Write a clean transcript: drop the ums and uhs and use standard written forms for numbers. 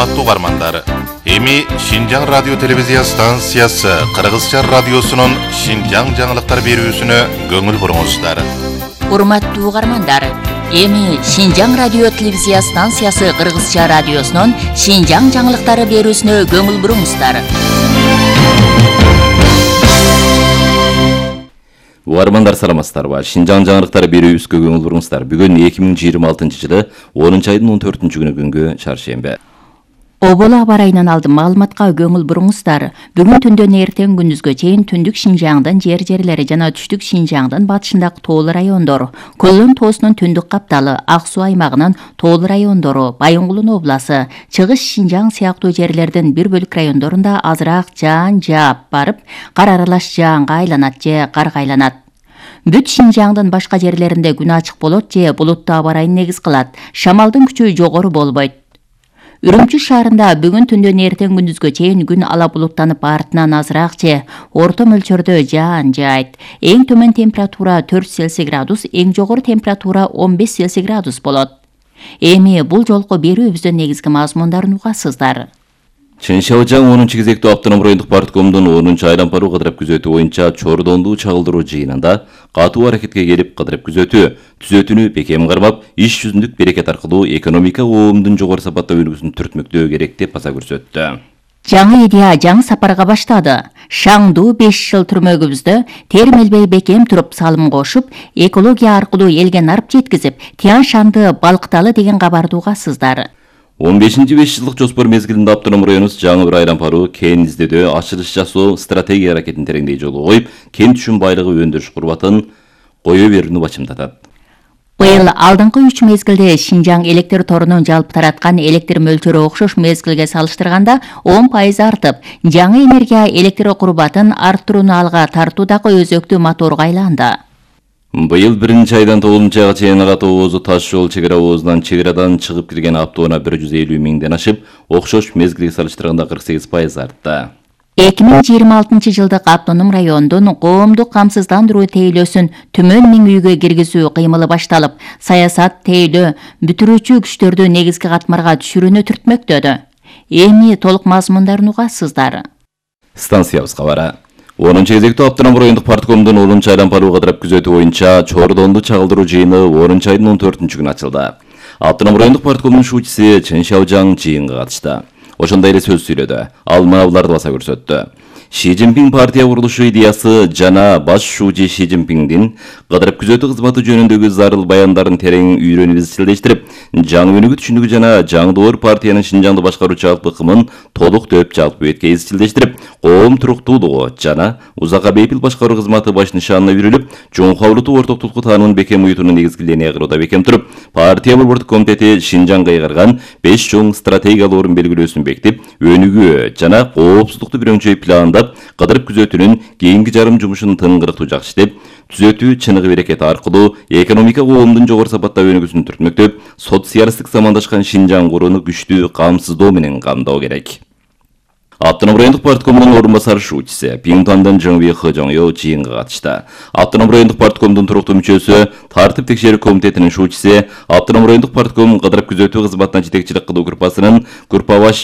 Урматтуу угармандар, эми Шинжаң радио телевизия станциясы Кыргызча радиосунун Шинжаң жаңылыктар берүүсүнө көңүл буруңуздар. Урматтуу угармандар, эми Шинжаң радио телевизия станциясы Кыргызча радиосунун Шинжаң жаңылыктары берүүсүнө көңүл буруңуздар. Угармандар саламатсыздарбы? Шинжаң жаңылыктары берүүбүзгө көңүл буруңуздар. Бүгүн 2026-жылы 10-айдын 14-күнү күнгө чаршембе. Оболо аба райынан алдын маалыматка көңүл буруңуздар. Бүгүн түндөн эртең күндүзгө чейин түндүк Шинжаңдын жер-жерлери жана түштүк Шинжаңдын батышындагы тоолуу райондор, Көлөн тоосунун түндүк капталы, Ак Суу аймагынын тоолуу райондору, Байынгулун обласы, Чыгыш Шинжаң сыяктуу жерлердин бир бөлүк райондорунда азыраак жаан жаап барып, кар аралаш жаанга айланат же карга айланат. Бүт Шинжаңдын башка жерлеринде күн ачык болот же булуттуу аба райын негиз кылат. Шамалдын күчү жогору болбойт. Үрүмчү шаарында бүгүн түндөн эртең күндүзгө чейин күн ала булуттанып артынан азыраак же орто мөлчөрдө жаан жаайт. Эң төмөн температура 4 Цельсий градус, эң жогору температура 15 Цельсий градус болот. Эми бул жолку берүүбүздүн негизги мазмундарын угасыздар. Чыншабыжаң 10-кезектүү автоном райондук парткомдун 10-айлампаруу кыдырып күзөтүү боюнча Чордондуу чагылдыруу жыйынында катуу аракетке келип кыдырып күзөтүү түзөтүүнү бекем кармап, иш жүзүндүк берекет аркылуу экономика оомдун жогору сапаттуу өнүгүүсүн түртмөктөө керек деп баса көрсөттү. Жаңы идея жаңы сапарга баштады. Шаңдуу 5 жыл түрмөгүбүздө термелбей бекем туруп салым кошуп, экология аркылуу элге нарып жеткизип, Тиян Шанды балкыталы деген кабарды угасыздар. 15-5 жылдык жоспор мезгилинде автоном районубуз жаңы бир айлампаруу кен издөөдө ачылыш жасоо стратегия аракетин тереңдей жолго коюп, кен түшүм байлыгы өндүрүш курбатын кое берүүнү бачымдатат. Быйыл алдыңкы 3 мезгилде Шинжаң электр торунун жалпы тараткан электр мөлчөрү окшош мезгилге салыштырганда 10% артып, жаңы энергия электр курбатын арттырууну алга тартуудагы өзөктүү моторго айланды. Быйыл 1-айдан 9-айга чейин Ак Оозу таш жол чегара оозунан чегерадан чыгып кирген автоунаа 150 миңден ашып, окшош мезгилге салыштырганда 48% артты. 2026 жылдык автоном райондун коомдук камсыздандыруу тейлөөсүн төмөн 1000 үйгө киргизүү кыймылы башталып, саясат тейлөө бүтүрүүчү күчтөрдү негизги катмарга түшүрүүнү түртмөктөдү. Эми толук мазмундарын угасыздар. Станциябызга бара. 10-кезектүү автоном райондук парткомдун 10-айлампаруу кыдырып күзөтүү боюнча Чордондуу чагылдыруу жыйыны 10-айдын 14-күнү ачылды. Автоном райондук парткомдун шуучусу Чыншабыжаң жыйынга катышты. Ошондой эле сөз сүйлөдү. Ал мыналарды баса көрсөттү. Ши Цзиньпин партия курулушу идеясы жана баш шуучу Ши Цзиньпиндин кыдырып күзөтүү кызматы жөнүндөгү зарыл баяндарын терең үйрөнүп изчилдештирип, жаңы өнүгүү түшүнүгү жана жаңдоор партиянын Шинжаңды башкаруучу жалпы ыкымын толук дөп жалпы бетке изчилдештирип, коом туруктуулугу жана узакка бейпил башкаруу кызматы баш нышанына үйрүлүп, чоңкаулутуу ортоктулукту таанымын бекем уютууну негизги линия кылууда бекем туруп, партия борбордук комитети Шинжаңга ыйгарган 5 чоң стратегиялык белгилөөсүн бекитип, өнүгүү жана коопсуздукту бирөңчөй пландап, кыдырып күзөтүүнүн кийинки жарым жумушун тыңгырыктуу жакшытып, түзөтүү чыныгы берекет аркылуу экономика коомдун жогору сапаттуу өнүгүүсүн түртмөктөп, социалисттик замандашкан Шинжаң курууну күчтүү камсыздоо менен камдоо керек. Автоном райондук парткомдун орун басары шуучусу Пиңтандын Жыңби Хыжоңё жыйынга катышты. Автоном райондук парткомдун туруктуу мүчөсү, тартип текшерүү комитетинин шуучусу, Автоном райондук партком кыдырып күзөтүү кызматына жетекчилик кылуу группасынын группа баш